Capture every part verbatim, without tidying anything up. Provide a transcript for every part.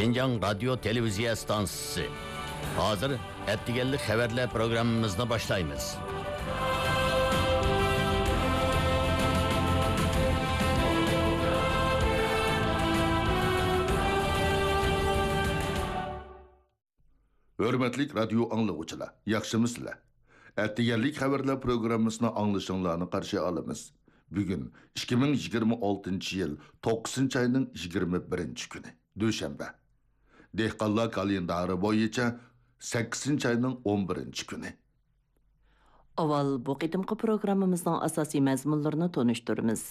شىنجاڭ رادىيو تېلېۋىزىيە ئىستانسىسى. ھازىر ئەتىگەنلىك خەۋەرلەر پروگراممىمىزنى باشلايمىز. ھۆرمەتلىك رادىيو ئاڭلىغۇچىلار، ياخشىمۇسىلەر؟ ئەتىگەنلىك خەۋەرلەر پروگراممىسىنى ئاڭلىشىڭلارنى قارشى ئالىمىز. بۈگۈن ئىككى مىڭ يىگىرمە ئالتىنچى يىل توققۇزىنچى ئاينىڭ يىگىرمە بىرىنچى كۈنى، دۈشەنبە. دېھقانلار كالېندارى بويىچە سەككىزىنچى ئاينىڭ ئون بىرىنچى كۈنى. ئاۋۋال بۇ قېتىمقى پروگراممىمىزنىڭ ئاساسىي مەزمۇنلىرىنى تونۇشتۇرىمىز.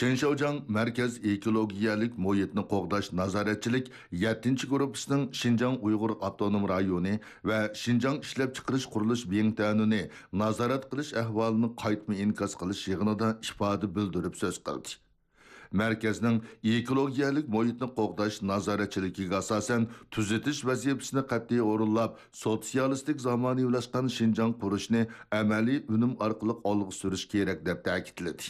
چېن شياۋجياڭ مەركەز ئېكولوگىيەلىك مۇھىتنى قوغداش نازارەتچىلىك يەتتىنچى گۇرۇپپىسىنىڭ شىنجاڭ ئۇيغۇر ئاپتونوم رايونى ۋە شىنجاڭ ئىشلەپچىقىرىش قۇرۇلۇش بىڭتۈەنىنى نازارەت قىلىش ئەھۋالىنى قايتما ئىنكاس قىلىش يىغىنىدا ئىپادە بىلدۈرۈپ سۆز قىلدى. مەركەزنىڭ ئېكولوگىيەلىك مۇھىتنى قوغداش نازارەتچىلىكىگە ئاساسەن، تۈزىتىش ۋەزىپىسىنى قەتئىي ئورۇنلاپ، سوتسىيالىستىك زامانىۋىلاشقان شىنجاڭ قۇرۇشنى ئەمەلىي ئۈنۈم ئارقىلىق ئالغا سۈرۈش كېرەك، دەپ تەكىتلىدى.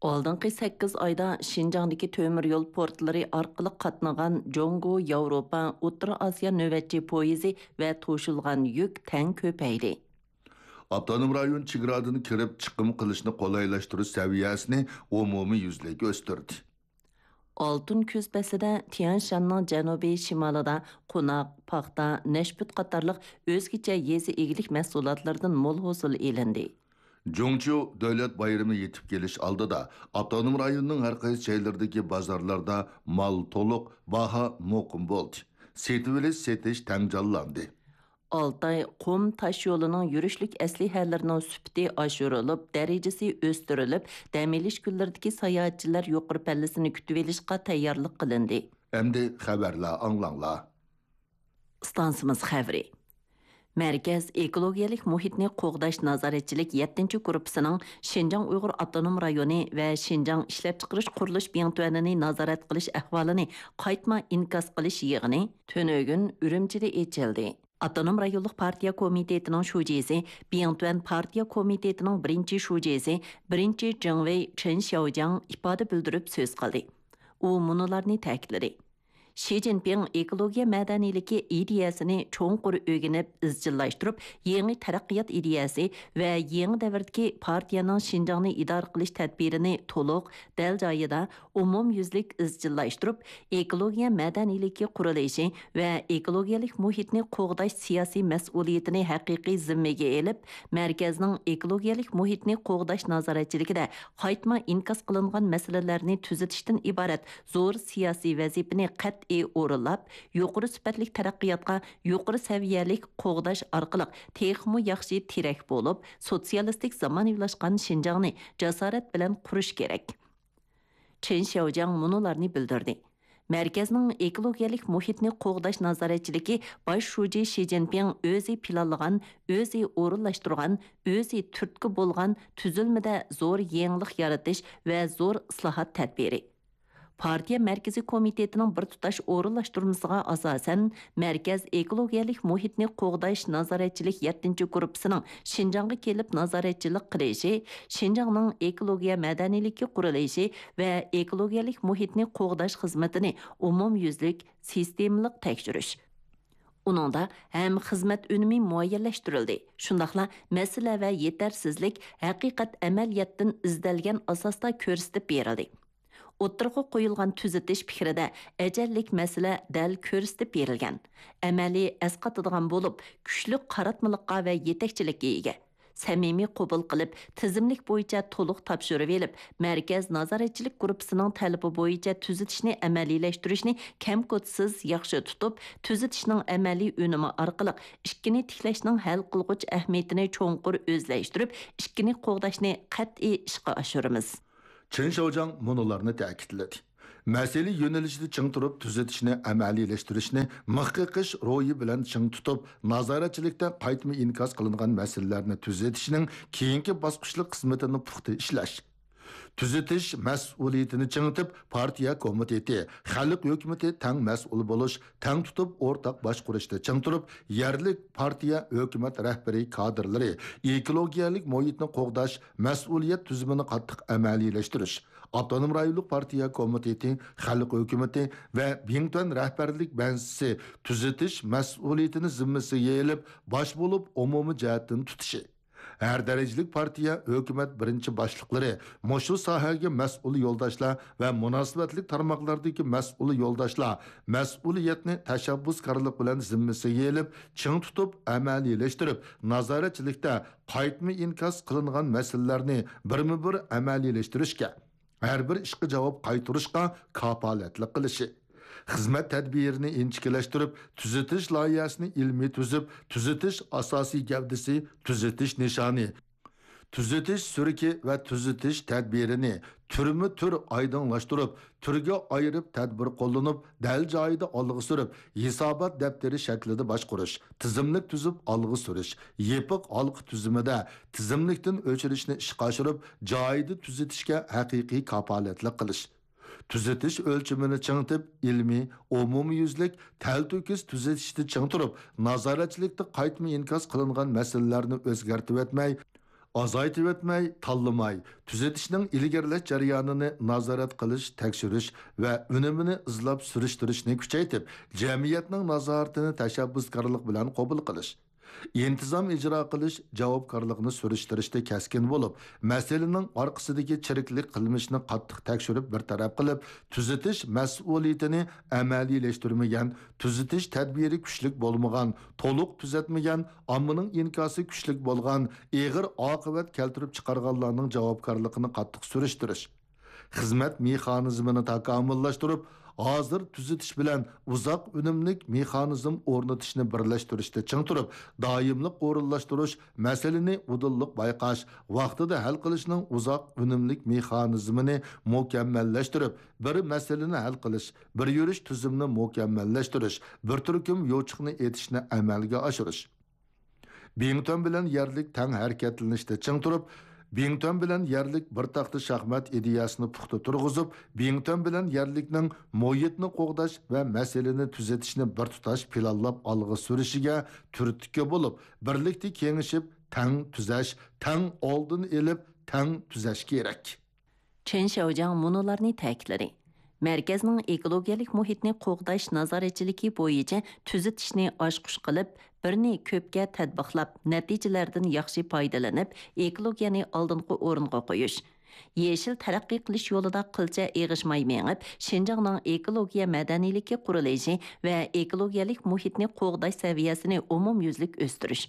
ئالدىنقى سەككىز ئايدا شىنجاڭدىكى تۆمۈر يول پورتلىرى ئارقىلىق قاتنىغان جۇڭگو، ياۋروپا، ئوتتۇرا ئاسىيا نۆۋەتچى پويىزى ۋە توشۇلغان يۈك تەڭ كۆپەيدى. ئاپتونوم رايون چېگرادىن كىرىپ چىقىم قىلىشنى قولايلاشتۇرۇش سەۋىيەسىنى ئومۇميۈزلۈك ئۆستۈردى. ئالتۇن كۈز پەسلىدە تيەنشاننىڭ جەنۇبىي شىمالىدا قوناق، پاختا، نەشپۈت قاتارلىق ئۆزگىچە يېزا ئىگىلىك مەھسۇلاتلىرىدىن مول ھوسۇل ئېلىندى. جۇڭچيۇ دۆلەت بايرىمى يېتىپ كېلىش ئالدىدا، ئاپتونوم رايوننىڭ ھەر قايسى جايلىرىدىكى بازارلاردا مال تولۇق، باھا مۇقىم بولدى. سېتىۋېلىش، سېتىش تەڭ جانلاندى. ئالتاي قۇم تاش يولىنىڭ يۈرۈشلۈك ئەسلىھەلىرىنىڭ سۈپىتى ئاشۇرۇلۇپ، دەرىجىسى ئۆستۈرۈلۈپ، دەم ئېلىش كۈنلىرىدىكى ساياھەتچىلەر يۇقىرى پەللىسىنى كۈتۈۋېلىشقا تەييارلىق قىلىندى. ئەمدى خەۋەرلەر ئاڭلاڭلار. ئىستانسىمىز خەۋىرى. مەركەز ئېكولوگىيەلىك مۇھىتنى قوغداش نازارەتچىلىك يەتتىنچى گۇرۇپپىسىنىڭ شىنجاڭ ئۇيغۇر ئاپتونوم رايونى ۋە شىنجاڭ ئىشلەپچىقىرىش قۇرۇلۇش بىڭتۈەنىنى نازارەت قىلىش ئەھۋالىنى قايتما ئىنكاس قىلىش يىغىنى تۈنۈگۈن ئۈرۈمچىدە ئېچىلدى. ئاپتونوم رايونلۇق پارتىيە كومىتېتىنىڭ شۇجىسى، بىڭتۈەن پارتىيە كومىتېتىنىڭ بىرىنچى شۇجىسى، بىرىنچى جېڭۋېي چېن شياۋجياڭ ئىپادە بىلدۈرۈپ سۆز قىلدى. ئۇ مۇنۇلارنى تەكىتلىدى. شى جىنپىڭ ئېكولوگىيە مەدەنىيلىكى ئىدىيەسىنى چوڭقۇر ئۆگىنىپ ئىزچىللاشتۇرۇپ، يېڭى تەرەققىيات ئىدىيەسى ۋە يېڭى دەۋردىكى پارتىيەنىڭ شىنجاڭنى ئىدارە قىلىش تەدبىرىنى تولۇق، دەل جايىدا، ئومۇميۈزلۈك ئىزچىللاشتۇرۇپ، ئېكولوگىيە مەدەنىيلىكى قۇرۇلۇشى ۋە ئېكولوگىيەلىك مۇھىتنى قوغداش سىياسىي مەسئۇلىيىتىنى ھەقىقىي زىممىگە ئېلىپ، مەركەزنىڭ ئېكولوگىيەلىك مۇھىتنى قوغداش نازارەتچىلىكىدە قايتما ئىنكاس قىلىنغان مەسىلىلەرنى تۈزىتىشتىن ئىبارەت زور سىياسىي ۋەزىپىنى قەتئىي ئورۇنلاپ، يۇقىرى سۈپەتلىك تەرەققىياتقا يۇقىرى سەۋىيەلىك قوغداش ئارقىلىق تېخىمۇ ياخشى تىرەك بولۇپ، سوتسىيالىستىك زامانىۋىلاشقان شىنجاڭنى جاسارەت بىلەن قۇرۇش كېرەك. چېن شياۋجياڭ مۇنۇلارنى بىلدۈردى. مەركەزنىڭ ئېكولوگىيەلىك مۇھىتنى قوغداش نازارەتچىلىكى باش شۇجى شى جىنپىڭ ئۆزى پىلانلىغان، ئۆزى ئورۇنلاشتۇرغان، ئۆزى تۈرتكە بولغان تۈزۈلمىدە زور يېڭىلىق يارىتىش ۋە زور ئىسلاھات تەدبىرى. پارتىيە مەركىزىي كومىتېتىنىڭ بىر تۇتاش ئورۇنلاشتۇرمىسىغا ئاساسەن، مەركەز ئېكولوگىيەلىك مۇھىتنى قوغداش نازارەتچىلىك يەتتىنچى گۇرۇپپىسىنىڭ شىنجاڭغا كېلىپ نازارەتچىلىك قىلىشى، شىنجاڭنىڭ ئېكولوگىيە مەدەنىيلىكى قۇرۇلۇشى ۋە ئېكولوگىيەلىك مۇھىتنى قوغداش خىزمىتىنى ئومۇميۈزلۈك، سىستېمىلىق تەكشۈرۈش. ئۇنىڭدا ھەم خىزمەت ئۈنۈمى مۇئەييەنلەشتۈرۈلدى، شۇنداقلا مەسىلە ۋە يېتەرسىزلىك ھەقىقەت ئەمەلىيەتتىن ئىزدەلگەن ئاساستا كۆرسىتىپ بېرىلدى. ئوتتۇرىغا قويۇلغان تۈزىتىش پىكرىدە ئەجەللىك مەسىلە دەل كۆرسىتىپ بېرىلگەن، ئەمەلىي ئەسقاتىدىغان بولۇپ، كۈچلۈك قاراتمىلىققا ۋە يېتەكچىلىككە ئىگە. سەمىمىي قوبۇل قىلىپ، تىزىملىك بويىچە تولۇق تاپشۇرۇۋېلىپ، مەركەز نازارەتچىلىك گۇرۇپپىسىنىڭ تەلىپى بويىچە تۈزىتىشنى ئەمەلىيلەشتۈرۈشنى كەم-كوتىسىز ياخشى تۇتۇپ، تۈزىتىشنىڭ ئەمەلىي ئۈنۈمى ئارقىلىق ئىككىنى تىكلەشنىڭ ھەل قىلغۇچ ئەھمىيىتىنى چوڭقۇر ئۆزلەشتۈرۈپ، ئىككىنى قوغداشنى قەتئىي ئىشقا ئاشۇرىمىز. چېن شياۋجياڭ مۇنۇلارنى تەكىتلىدى. مەسىلە يۆنىلىشىدە چىڭ تۇرۇپ، تۈزىتىشنى ئەمەلىيلەشتۈرۈشنى مىخ قېقىش روھى بىلەن چىڭ تۇتۇپ، نازارەتچىلىكتە قايتما ئىنكاس قىلىنغان مەسىلىلەرنى تۈزىتىشنىڭ كېيىنكى باسقۇچلۇق خىزمىتىنى پۇختا ئىشلەش. تۈزىتىش مەسئۇلىيىتىنى چىڭىتىپ، پارتىيە كومىتېتى، خەلق ھۆكۈمىتى تەڭ مەسئۇل بولۇش، تەڭ تۇتۇپ ئورتاق باشقۇرۇشتا چىڭ تۇرۇپ، يەرلىك پارتىيە، ھۆكۈمەت رەھبىرىي كادىرلىرى ئېكولوگىيەلىك مۇھىتنى قوغداش مەسئۇلىيەت تۈزۈمىنى قاتتىق ئەمەلىيلەشتۈرۈش، ئاپتونوم رايونلۇق پارتىيە كومىتېتى، خەلق ھۆكۈمىتى ۋە بىڭتۈەن رەھبەرلىك بەنزىسى تۈزىتىش مەسئۇلىيىتىنى زىممىسىگە ئېلىپ، باش بولۇپ ئومۇمىي جەھەتتىن تۇتۇشى. ھەر دەرىجىلىك پارتىيە، ھۆكۈمەت بىرىنچى باشلىقلىرى، مۇشۇ ساھەگە مەسئۇل يولداشلار ۋە مۇناسىۋەتلىك تارماقلاردىكى مەسئۇل يولداشلار مەسئۇلىيەتنى تەشەببۇسكارلىق بىلەن زىممىسىگە ئېلىپ، چىڭ تۇتۇپ ئەمەلىيلەشتۈرۈپ، نازارەتچىلىكتە قايتما ئىنكاس قىلىنغان مەسىلىلەرنى بىرمۇبىر ئەمەلىيلەشتۈرۈشكە، ھەر بىر ئىشقا جاۋاب قايتۇرۇشقا كاپالەتلىك قىلىشى، خىزمەت تەدبىرىنى ئىنچىكىلەشتۈرۈپ، تۈزىتىش لايىھەسىنى ئىلمىي تۈزۈپ، تۈزىتىش ئاساسىي گەۋدىسى، تۈزىتىش نىشانى، تۈزىتىش سۈرۈكى ۋە تۈزىتىش تەدبىرىنى تۈرمۇ تۈر ئايدىڭلاشتۇرۇپ، تۈرگە ئايرىپ تەدبىر قوللىنىپ، دەل جايىدا ئالغا سۈرۈپ، ھېسابات دەپتىرى شەكلىدە باشقۇرۇش، تىزىملىك تۈزۈپ ئالغا سۈرۈش، يېپىق ھالقا تۈزۈمىدە تىزىملىكتىن ئۆچۈرۈشنى ئىشقا ئاشۇرۇپ، جايىدا تۈزىتىشكە ھەقىقىي كاپالەتلىك قىلىش. تۈزىتىش ئۆلچىمىنى چىڭىتىپ، ئىلمىي، ئومۇميۈزلۈك، تەلتۆكۈس تۈزىتىشتە چىڭ تۇرۇپ، نازارەتچىلىكتە قايتما ئىنكاس قىلىنغان مەسىلىلەرنى ئۆزگەرتىۋەتمەي، ئازايتىۋەتمەي، تاللىماي، تۈزىتىشنىڭ ئىلگىرىلەش جەريانىنى نازارەت قىلىش، تەكشۈرۈش ۋە ئۈنۈمىنى ئىزلاپ سۈرۈشتۈرۈشنى كۈچەيتىپ، جەمئىيەتنىڭ نازارىتىنى تەشەببۇسكارلىق بىلەن قوبۇل قىلىش. ئىنتىزام ئىجرا قىلىش جاۋابكارلىقىنى سۈرۈشتۈرۈشتە كەسكىن بولۇپ، مەسىلىنىڭ ئارقىسىدىكى چىرىكلىك قىلمىشىنى قاتتىق تەكشۈرۈپ بىر تەرەپ قىلىپ، تۈزىتىش مەسئۇلىيىتىنى ئەمەلىيلەشتۈرمىگەن، تۈزىتىش تەدبىرى كۈچلۈك بولمىغان، تولۇق تۈزەتمىگەن، ئاممىنىڭ ئىنكاسى كۈچلۈك بولغان، ئېغىر ئاقىۋەت كەلتۈرۈپ چىقارغانلارنىڭ جاۋابكارلىقىنى قاتتىق سۈرۈشتۈرۈش. خىزمەت مېخانىزمىنى تاكامۇللاشتۇرۇپ، ھازىر تۈزىتىش بىلەن ئۇزاق ئۈنۈملۈك مېخانىزم ئورنىتىشنى بىرلەشتۈرۈشتە چىڭ تۇرۇپ، دائىملىق ئورۇنلاشتۇرۇش، مەسىلىنى ئۇدۇللۇق بايقاش، ۋاقتىدا ھەل قىلىشنىڭ ئۇزاق ئۈنۈملۈك مېخانىزمىنى مۇكەممەللەشتۈرۈپ، بىر مەسىلىنى ھەل قىلىش، بىر يۈرۈش تۈزۈمنى مۇكەممەللەشتۈرۈش، بىر تۈركۈم يوچۇقنى ئېتىشنى ئەمەلگە ئاشۇرۇش. بىڭتۈەن بىلەن يەرلىك تەڭ ھەرىكەتلىنىشتە چىڭ تۇرۇپ، بىڭتۈەن بىلەن يەرلىك بىر تاختا شاھمات ئىدىيەسىنى پۇختا تۇرغۇزۇپ، بىڭتۈەن بىلەن يەرلىكنىڭ مۇھىتنى قوغداش ۋە مەسىلىنى تۈزىتىشنى بىر تۇتاش پىلانلاپ ئالغا سۈرۈشىگە تۈرتكە بولۇپ، بىرلىكتە كېڭىشىپ، تەڭ تۈزەش، تەڭ ئالدىنى ئېلىپ، تەڭ تۈزەش كېرەك. چېن شياۋجياڭ مۇنۇلارنى تەكىتلىدى: مەركەزنىڭ ئېكولوگىيەلىك مۇھىتنى قوغداش نازارەتچىلىكى بويىچە تۈزىتىشنى ئاچقۇچ قىلىپ، بىرنى كۆپكە تەتبىقلاپ، نەتىجىلەردىن ياخشى پايدىلىنىپ، ئېكولوگىيەنى ئالدىنقى ئورۇنغا قويۇش. يېشىل تەرەققىي قىلىش يولىدا قىلچە ئېغىشماي مېڭىپ، شىنجاڭنىڭ ئېكولوگىيە مەدەنىيلىكى قۇرۇلۇشى ۋە ئېكولوگىيەلىك مۇھىتنى قوغداش سەۋىيەسىنى ئومۇميۈزلۈك ئۆستۈرۈش.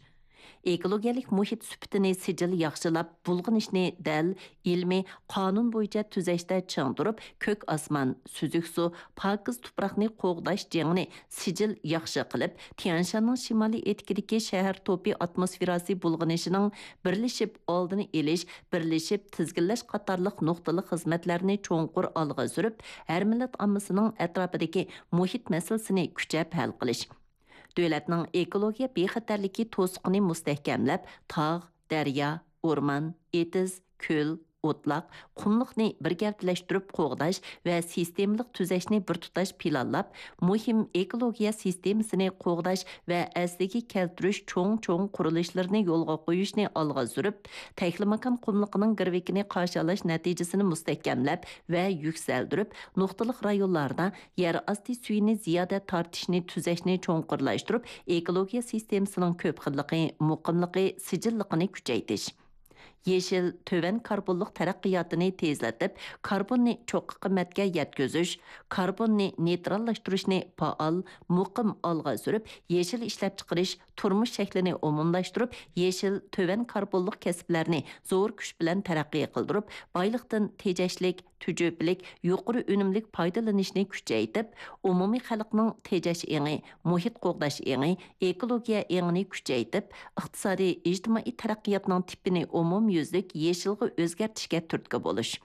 ئېكولوگىيەلىك مۇھىت سۈپىتىنى سىجىل ياخشىلاپ، بۇلغىنىشنى دەل، ئىلمىي، قانۇن بويىچە تۈزەشتە چىڭ تۇرۇپ، كۆك ئاسمان، سۈزۈك سۇ، پاكىز تۇپراقنى قوغداش جېڭىنى سىجىل ياخشى قىلىپ، تيەنشاننىڭ شىمالىي ئېتىكىدىكى شەھەر توپى ئاتموسفېراسى بۇلغىنىشىنىڭ بىرلىشىپ ئالدىنى ئېلىش، بىرلىشىپ تىزگىنلەش قاتارلىق نۇقتىلىق خىزمەتلەرنى چوڭقۇر ئالغا سۈرۈپ، ھەر مىللەت ئاممىسىنىڭ ئەتراپىدىكى مۇھىت مەسىلىسىنى كۈچەپ ھەل قىلىش. دۆلەتنىڭ ئېكولوگىيە بىخەتەرلىكى توسۇقىنى مۇستەھكەملەپ، تاغ، دەريا، ئورمان، ئېتىز، كۆل، ئوتلاق، قۇملۇقنى بىر گەۋدىلەشتۈرۈپ قوغداش ۋە سىستېمىلىق تۈزەشنى بىر تۇتاش پىلانلاپ، مۇھىم ئېكولوگىيە سىستېمىسىنى قوغداش ۋە ئەسلىگە كەلتۈرۈش چوڭ چوڭ قۇرۇلۇشلىرىنى يولغا قويۇشنى ئالغا سۈرۈپ، تەكلىماكان قۇملۇقىنىڭ گىرۋىكىنى قارشى ئالاش نەتىجىسىنى مۇستەھكەملەپ ۋە يۈكسەلدۈرۈپ، نۇقتىلىق رايونلاردا يەر ئاستى سۈيىنى زىيادە تارتىشنى تۈزەشنى چوڭقۇرلاشتۇرۇپ، ئېكولوگىيە سىستېمىسىنىڭ كۆپ خىللىقى، مۇقىملىقى، سىجىللىقىنى كۈچەيتىش. يېشىل، تۆۋەن كاربونلۇق تەرەققىياتىنى تېزلىتىپ، كاربوننى چوققا قىممەتكە يەتكۈزۈش، كاربوننى نېيتراللاشتۇرۇشنى پائال، مۇقىم ئالغا سۈرۈپ، يېشىل ئىشلەپچىقىرىش، تۇرمۇش شەكلىنى ئومۇملاشتۇرۇپ، يېشىل، تۆۋەن كاربونلۇق كەسىپلەرنى زور كۈچ بىلەن تەرەققىي قىلدۇرۇپ، بايلىقتىن تېجەشلىك، تۈجۈپىلىك، يۇقىرى ئۈنۈملۈك پايدىلىنىشنى كۈچەيتىپ، ئومۇمىي خەلقنىڭ تېجەش ئېڭى، مۇھىت قوغداش ئېڭى، ئېكولوگىيە ئېڭىنى كۈچەيتىپ، ئىقتىسادىي، ئىجتىمائىي تەرەققىياتنىڭ تىپىنى ئومۇميۈزلۈك يېشىلغا ئۆزگەرتىشكە تۈرتكە بولۇش.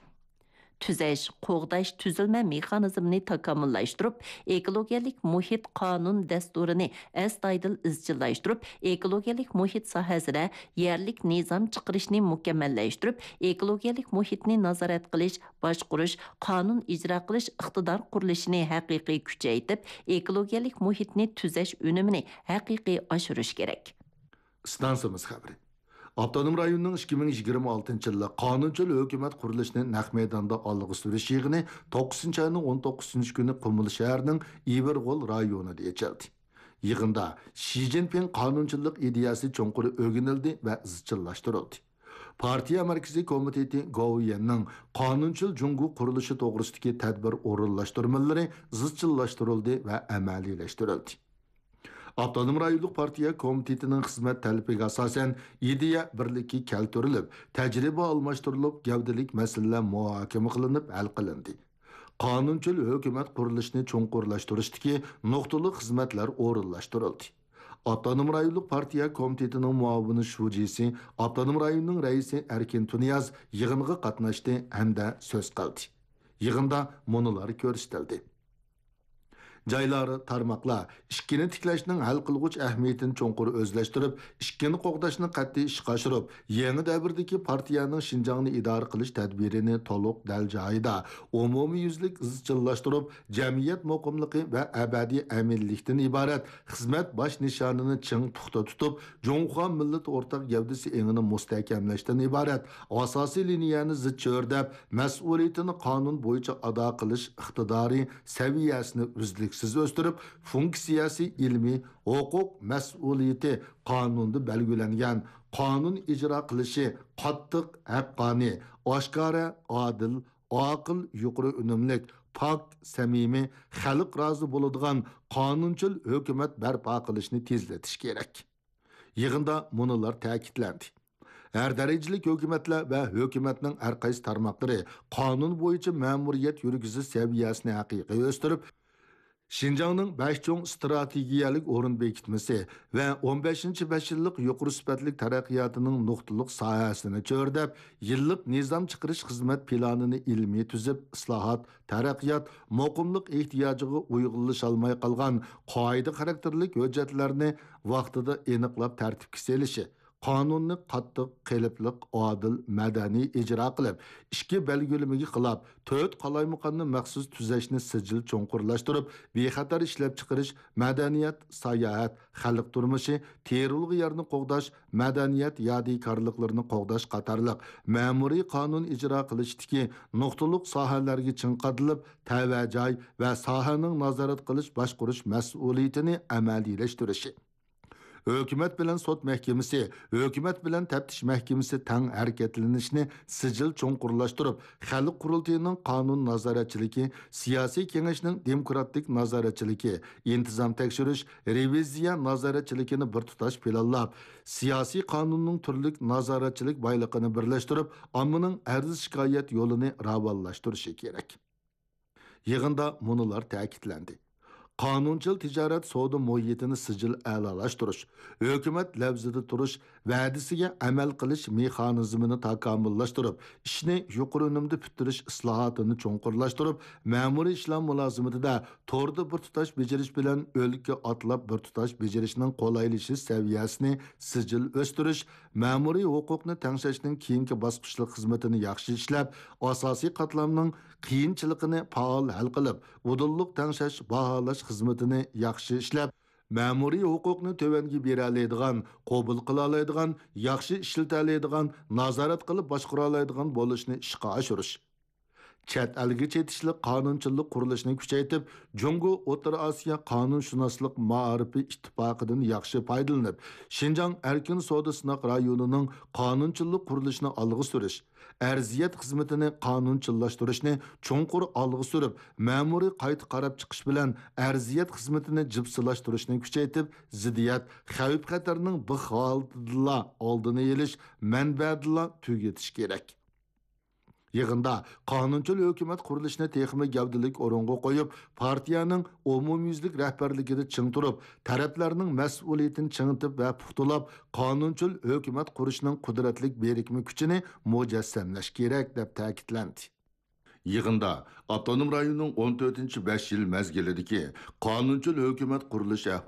تۈزەش، قوغداش، تۈزۈلمە مېخانىزمىنى تاكامۇللاشتۇرۇپ، ئېكولوگىيەلىك مۇھىت قانۇن دەستۇرىنى ئەستايىدىل ئىزچىللاشتۇرۇپ، ئېكولوگىيەلىك مۇھىت ساھەسىدە يەرلىك نىزام چىقىرىشنى مۇكەممەللەشتۈرۈپ، ئېكولوگىيەلىك مۇھىتنى نازارەت قىلىش، باشقۇرۇش، قانۇن ئىجرا قىلىش ئىقتىدار قۇرۇلۇشىنى ھەقىقىي كۈچەيتىپ، ئېكولوگىيەلىك مۇھىتنى تۈزەش ئۈنۈمىنى ھەقىقىي ئاشۇرۇش كېرەك. ئىستانسىمىز خەۋىرى. ئاپتونوم رايوننىڭ ئىككى مىڭ يىگىرمە ئالتىنچى يىللىق قانۇنچىل ھۆكۈمەت قۇرۇلۇشىنى نەق مەيداندا ئالغا سۈرۈش يىغىنى توققۇزىنچى ئاينىڭ ئون توققۇزىنچى كۈنى قۇمۇل شەھىرىنىڭ ئىۋىرغول رايونىدا ئېچىلدى. يىغىندا شى جىنپىڭ قانۇنچىللىق ئىدىيەسى چوڭقۇر ئۆگىنىلدى ۋە ئىزچىللاشتۇرۇلدى. پارتىيە مەركىزىي كومىتېتى گوۋۇيۈەننىڭ قانۇنچىل جۇڭگو قۇرۇلۇشى توغرىسىدىكى تەدبىر ئورۇنلاشتۇرمىلىرى ئىزچىللاشتۇرۇلدى ۋە ئەمەلىيلەشتۈرۈلدى. ئاپتونوم رايونلۇق پارتىيە كومىتېتىنىڭ خىزمەت تەلىپىگە ئاساسەن، ئىدىيە بىرلىككە كەلتۈرۈلۈپ، تەجرىبە ئالماشتۇرۇلۇپ، گەۋدىلىك مەسىلىلەر مۇھاكىمە قىلىنىپ ھەل قىلىندى. قانۇنچىل ھۆكۈمەت قۇرۇلۇشىنى چوڭقۇرلاشتۇرۇشتىكى نۇقتىلىق خىزمەتلەر ئورۇنلاشتۇرۇلدى. ئاپتونوم رايونلۇق پارتىيە كومىتېتىنىڭ مۇئاۋىن شۇجىسى، ئاپتونوم رايوننىڭ رەئىسى ئەركىن تۇنىياز يىغىنغا قاتناشتى ھەمدە سۆز قىلدى. يىغىندا مۇنۇلار كۆرسىتىلدى. جايلار، تارماقلار ئىككىنى تىكلەشنىڭ ھەل قىلغۇچ ئەھمىيىتىنى چوڭقۇر ئۆزلەشتۈرۈپ، ئىككىنى قوغداشنى قەتئىي ئىشقا ئاشۇرۇپ، يېڭى دەۋردىكى پارتىيەنىڭ شىنجاڭنى ئىدارە قىلىش تەدبىرىنى تولۇق دەل جايىدا، ئومۇميۈزلۈك ئىزچىللاشتۇرۇپ، جەمئىيەت مۇقىملىقى ۋە ئەبەدىي ئەمىنلىكتىن ئىبارەت خىزمەت باش نىشانىنى چىڭ پۇختا تۇتۇپ، جۇڭخۇا مىللىتى ئورتاق گەۋدىسى ئېڭىنى مۇستەھكەملەشتىن ئىبارەت ئاساسىي لىنىيەنى زىچ چۆرىدەپ، مەسئۇلىيىتىنى قانۇن بويىچە ئادا قىلىش ئىقتىدارى سەۋىيەسىنى ئۈزلۈكسىز ئۆستۈرۈپ، فۇنكسىيەسى ئىلمىي، ھوقۇق مەسئۇلىيىتى قانۇندا بەلگىلەنگەن، قانۇن ئىجرا قىلىشى قاتتىق، ھەققانىي، ئاشكارا، ئادىل، ئاقىل، يۇقىرى ئۈنۈملۈك، پاك، سەمىمىي، خەلق رازى بولىدىغان قانۇنچىل ھۆكۈمەت بەرپا قىلىشنى تېزلىتىش كېرەك. يىغىندا مۇنۇلار تەكىتلەندى. ھەر دەرىجىلىك ھۆكۈمەتلەر ۋە ھۆكۈمەتنىڭ ھەر قايسى تارماقلىرى قانۇن بويىچە مەمۇرىيەت يۈرگۈزۈش سەۋىيەسىنى ھەقىقىي ئۆستۈرۈپ، شىنجاڭنىڭ بەش چوڭ ئىستراتېگىيەلىك ئورۇن بېكىتمىسى ۋە ئون بەشىنچى بەش يىللىق يۇقىرى سۈپەتلىك تەرەققىياتىنىڭ نۇقتىلىق ساھەسىنى چۆرىدەپ، يىللىق نىزام چىقىرىش خىزمەت پىلانىنى ئىلمىي تۈزۈپ، ئىسلاھات، تەرەققىيات، مۇقىملىق ئېھتىياجىغا ئۇيغۇنلىشالماي قالغان قائىدە خاراكتېرلىك ھۆججەتلەرنى ۋاقتىدا ئېنىقلاپ تەرتىپكە سېلىشى، قانۇننى قاتتىق، قېلىپلىق، ئادىل، مەدەنىي ئىجرا قىلىپ، ئىچكى بەلگىلىمىگە خىلاپ، تۆت قالايمىقاننى مەخسۇس تۈزەشنى سىجىل چوڭقۇرلاشتۇرۇپ، بىخەتەر ئىشلەپچىقىرىش، مەدەنىيەت، ساياھەت، خەلق تۇرمۇشى، تېرىلغۇ يەرنى قوغداش، مەدەنىيەت يادىكارلىقلىرىنى قوغداش قاتارلىق مەمۇرىي قانۇن ئىجرا قىلىشتىكى نۇقتىلىق ساھەلەرگە چىڭ قادىلىپ، تەۋە جاي ۋە ساھەنىڭ نازارەت قىلىش، باشقۇرۇش مەسئۇلىيىتىنى ئەمەلىيلەشتۈرۈشى. ھۆكۈمەت بىلەن سوت مەھكىمىسى، ھۆكۈمەت بىلەن تەپتىش مەھكىمىسى تەڭ ھەرىكەتلىنىشنى سىجىل چوڭقۇرلاشتۇرۇپ، خەلق قۇرۇلتىيىنىڭ قانۇن نازارەتچىلىكى، سىياسىي كېڭەشنىڭ دېموكراتىك نازارەتچىلىكى، ئىنتىزام تەكشۈرۈش، رېۋىزىيە نازارەتچىلىكىنى بىر تۇتاش پىلانلاپ، سىياسىي قانۇننىڭ تۈرلۈك نازارەتچىلىك بايلىقىنى بىرلەشتۈرۈپ، ئاممىنىڭ ئەرز-شىكايەت يولىنى راۋانلاشتۇرۇشى كېرەك. يىغىندا مۇنۇلار تەكىتلەندى. قانۇنچىل تىجارەت سودا مۇھىتىنى سىجىل ئەلالاشتۇرۇش، ھۆكۈمەت لەۋزىدە تۇرۇش، ۋەدىسىگە ئەمەل قىلىش مېخانىزمىنى تاكامۇللاشتۇرۇپ، ئىشنى يۇقىرى ئۈنۈمدە پۈتتۈرۈش ئىسلاھاتىنى چوڭقۇرلاشتۇرۇپ، مەمۇرىي ئىشلار مۇلازىمىتىدە توردا بىر تۇتاش بېجىرىش بىلەن ئۆلكە ئاتلاپ بىر تۇتاش بېجىرىشنىڭ قولايلىشىش سەۋىيەسىنى سىجىل ئۆستۈرۈش، مەمۇرىي ھوقۇقنى تەڭشەشنىڭ كېيىنكى باسقۇچلۇق خىزمىتىنى ياخشى ئىشلەپ، ئاساسىي قاتلامنىڭ قىيىنچىلىقىنى پائال ھەل قىلىپ، ئۇدۇللۇق تەڭشەش، باھالاش خىزمىتىنى ياخشى ئىشلەپ، مەمۇرىي ھوقۇقنى تۆۋەنگە بېرەلەيدىغان، قوبۇل قىلالايدىغان، ياخشى ئىشلىتەلەيدىغان، نازارەت قىلىپ باشقۇرالايدىغان بولۇشنى ئىشقا ئاشۇرۇش. چەت ئەلگە چېتىشلىق قانۇنچىللىق قۇرۇلۇشىنى كۈچەيتىپ، جۇڭگو ئوتتۇرا ئاسىيا قانۇنشۇناسلىق مائارىپى ئىتتىپاقىدىن ياخشى پايدىلىنىپ، شىنجاڭ ئەركىن سودا سىناق رايونىنىڭ قانۇنچىللىق قۇرۇلۇشىنى ئالغا سۈرۈش، ئەرزىيەت خىزمىتىنى قانۇنچىللاشتۇرۇشنى چوڭقۇر ئالغا سۈرۈپ، مەمۇرىي قايتا قاراپ چىقىش بىلەن ئەرزىيەت خىزمىتىنى جىپسىلاشتۇرۇشنى كۈچەيتىپ، زىددىيەت، خەۋپ-خەتەرنىڭ بىخ ھالىتىدىلا ئالدىنى ئېلىش، مەنبەدىلا تۈگىتىش كېرەك. يىغىندا قانۇنچىل ھۆكۈمەت قۇرۇلۇشىنى تېخىمۇ گەۋدىلىك ئورۇنغا قويۇپ، پارتىيەنىڭ ئومۇميۈزلۈك رەھبەرلىكىدە چىڭ تۇرۇپ، تەرەپلەرنىڭ مەسئۇلىيىتىنى چىڭىتىپ ۋە پۇختىلاپ، قانۇنچىل ھۆكۈمەت قۇرۇشنىڭ قۇدرەتلىك بىرىكمە كۈچىنى مۇجەسسەملەش كېرەك، دەپ تەكىتلەندى. يىغىندا ئاپتونوم رايوننىڭ ئون تۆتىنچى بەش يىل مەزگىلىدىكى قانۇنچىل ھۆكۈمەت قۇرۇلۇش ئەھۋالى